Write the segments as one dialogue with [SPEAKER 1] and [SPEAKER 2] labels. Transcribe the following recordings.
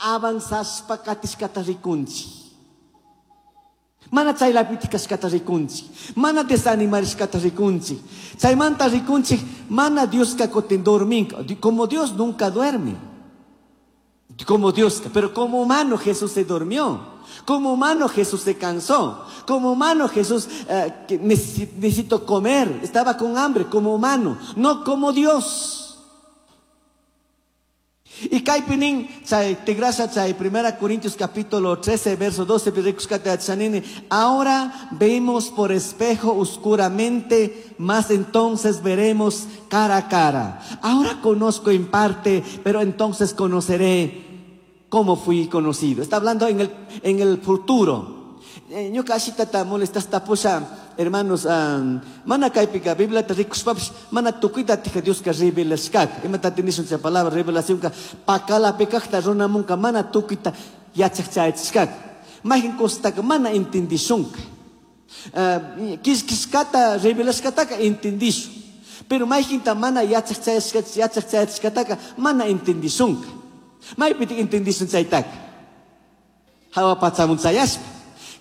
[SPEAKER 1] Avanzashpa katishkata rikunchik. Mana chaylapitik kashkata rikunchik. Mana desanimarishkata rikunchik. Chaymanta rikunchik mana Dioska kutin dorminka. Como Dios nunca duerme. Como Dios, pero como humano Jesús se durmió. Como humano Jesús se cansó. Como humano Jesús que necesito comer. Estaba con hambre como humano, no como Dios. Y kaypi nin, chay tigrasha chay 1 Corintios capítulo 13, verso 12, rikushkata yachanini, ahora vemos por espejo oscuramente, mas entonces veremos cara a cara. Ahora conozco en parte, pero entonces conoceré cómo fui conocido. Está hablando en el futuro. Ñuka ashitata molestasta pusha, hermanos, mana kaypika Bibliata rikushpapish mana tukuyta tija Dioska revelashkaka. Imata nishun chay palabra revelacionka pakalapi kajta runamunka mana tukuyta yachaj chayachishkaka. Mayqin cosataka mana entendishunka. Kishkishkata revelashkataka entendishun. Pero mayqinta mana yachaj yachaj chayachishkataka mana entendishunka. Maypitik entendishun chaytaka. Hawa pachamun chayashpa.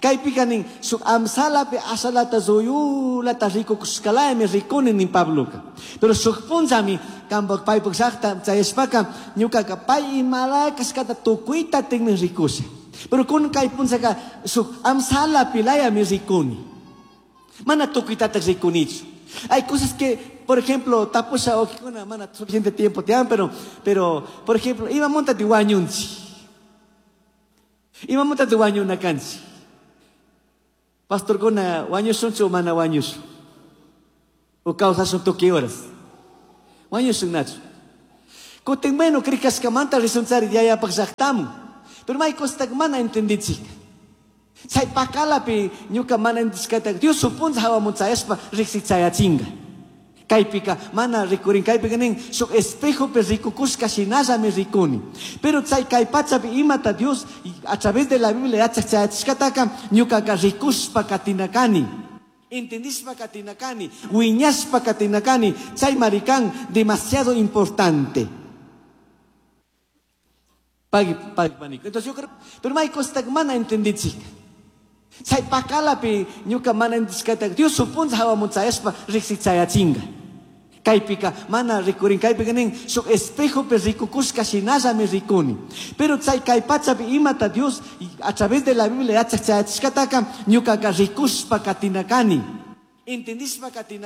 [SPEAKER 1] Kaypika nin, shuk amsalapi ashalata zuyulata rikukushkalaymi rikuni nin Pabloka. Pero shuk punllami kanpak paypak llaqta chayashpaka ñukaka pay imalaya kashkata tukuyta tinmi rikusha. Pero kun kay punllaka shuk amsalapi layami rikuni. Mana tukuytatak rikunichu. Hay cosas que, por ejemplo, tapusha okikuna mana suficiente tiempo tiyan, pero, por ejemplo, imamuntati wañunchik. Imamuntati wañuna kanchik. Pastorkuna wañushunchu o mana wañushun? O kawsashun tukuy horas? Wañushun nachu. Kutin bueno krikashkamanta rishunchari yayapaq llaqtamun. Pero may cosataka mana entendichik. Chay pakalapi ñuka mana entendishkata Dios supuncha hawamun chayashpa riqsichayachinga. Kaypika mana rikurin, kaypika nin shuk espejopi rikukushka shinallami rikuni. Pero chay kay pachapi imata Dios a través de la Biblia yachaj chayachishkataka ñukaka rikushpa katinakani. Entendishpa katinakani, wiñashpa katinakani, chay marikan demasiado importante. Pagui, pagui, panico. Entonces yo creo, pero may cosataka mana entendichik. Chay pakalapi ñuka mana entendishkata Dios supuncha hawamun chayashpa riqsichayachinga. Kaypika mana rikurin, kaypika nin shuk espejopi rikukushka shinallami rikuni. Pero chay kay pachapi imata Dios a través de la Biblia yachaj chayachishkataka ñukaka rikushpa katinakani. Entendishpa katinakani.